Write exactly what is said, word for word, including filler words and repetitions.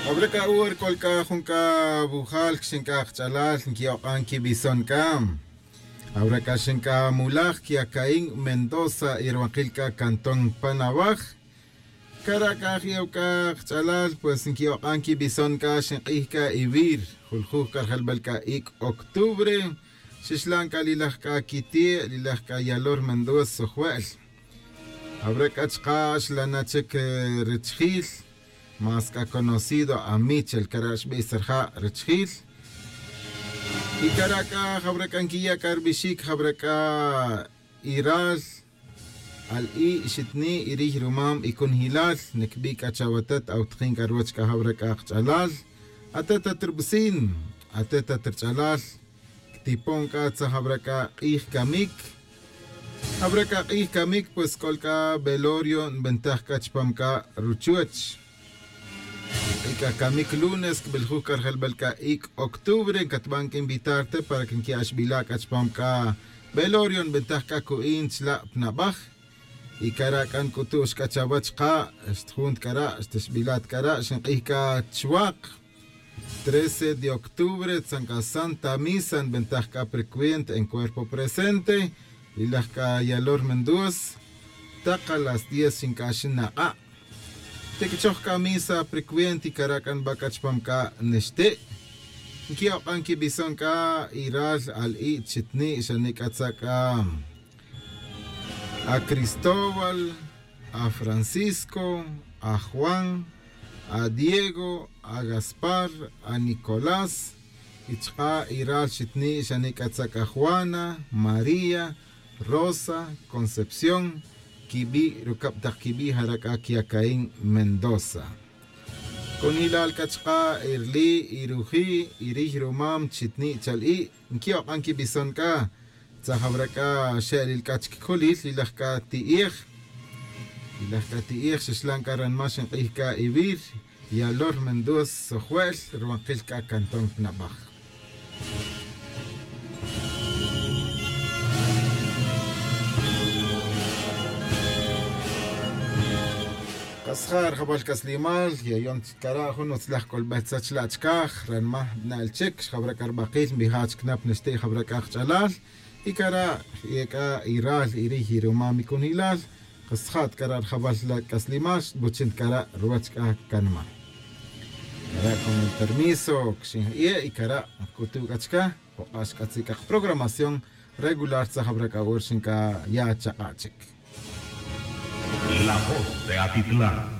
Jawra c'a hora c'ol c'a jun c'a wujal quixin c'a kach'alal nquiok'an quibison c'a. Jawra c'a xin c'a mulaj quiacaín mendoza y ruwankil c'a cantón pan awaj. Cara' c'a je'o c'a kach'alal pues nquiok'an quibison c'a xink'ij c'a ivir, juljuj c'a rijelbal c'a ic' octubre. Xixlan c'a lilaj c'a quiti' lilaj c'a yalor mendoza sujue'l. Jawra c'a chka' xlana' chic richijil, más c'a conocido amichel cara' xbij sa rija' richijil. Y cara' c'a jawra c'a nquiya' c'a ribixic jawra c'a iral, al'i' xitni' y riy rumam y cunjilal. Niquibi' c'a chawatet awtakin c'a ruwech c'a jawra c'a kach'alal. Atet at ribicin, atet at rich'alal, quitipon c'a tzaj jawra c'a k'ij camic. Jawra c'a k'ij camic pues c'ol c'a velorio nbentaj c'a chupam c'a ruchuwech. Y c'a camic lunes quibiljuj c'a rijelbal c'a ic' octubre ncatban c'a invitar te para que nqui'axbila' c'a chupam c'a velorio nbentaj c'a cu'in chla' pa nabaj. Y cara' c'a nc'utu'x c'a chawech ka' xtijun ta cara' xtixbila' ta cara' xink'ij c'a chwak. Trece de octubre tzan c'a santa misa nbentaj c'a precuenta en cuerpo presente. Lilaj c'a yalor mendoza tak a las diez xinc'axin nak'a'. Tiquichoj c'a misa precuenta y cara' c'a nba c'a chupam c'a nixti'. Nqui'ok'an quibison c'a iral, al'i' chitni' xani' c'a tza' c'a a cristóbal, a francisco, a juan, a diego, a gaspar, a nicolás. Y chka' iral xitni' xani' c'a tza' c'a juana, maría, rosa, concepción, quibi' rucab tak quibi' jara' c'a quiacaín mendoza. Cunjilal c'a chka' irli' iruji' iriy rumam chitni' chal'i' nqui'ok'an quibison c'a. Tzaj awra c'a xe'lil c'a chic colil lilaj c'a ti'ej. Lilaj c'a ti'ej xixlan c'a ranma xink'ij c'a ivir yalor mendoza sojue'l ruwankil c'a cantón pa nabaj. Kasja' rijawal c'aslimal yayon chic cara' jun utzlaj c'olbej tzach la' chicaj ranma na'el chic xjawra c'a ribakil nbija' chic na pa nixti' jawra c'a kach'alal. Y cara' y ec'a iral iriy irumam icunilal kasja' ta cara' rijawal la' c'aslimal xbuchin ta cara' ruwech c'a canma. Cara' con el permiso quixin ja'ie' y cara' nc'utu' c'a chica juk'a' xc'atzi' c'a kaprogramación regular tzaj awra c'a hora xin c'a ya chak'a' chic. La voz de atitlán.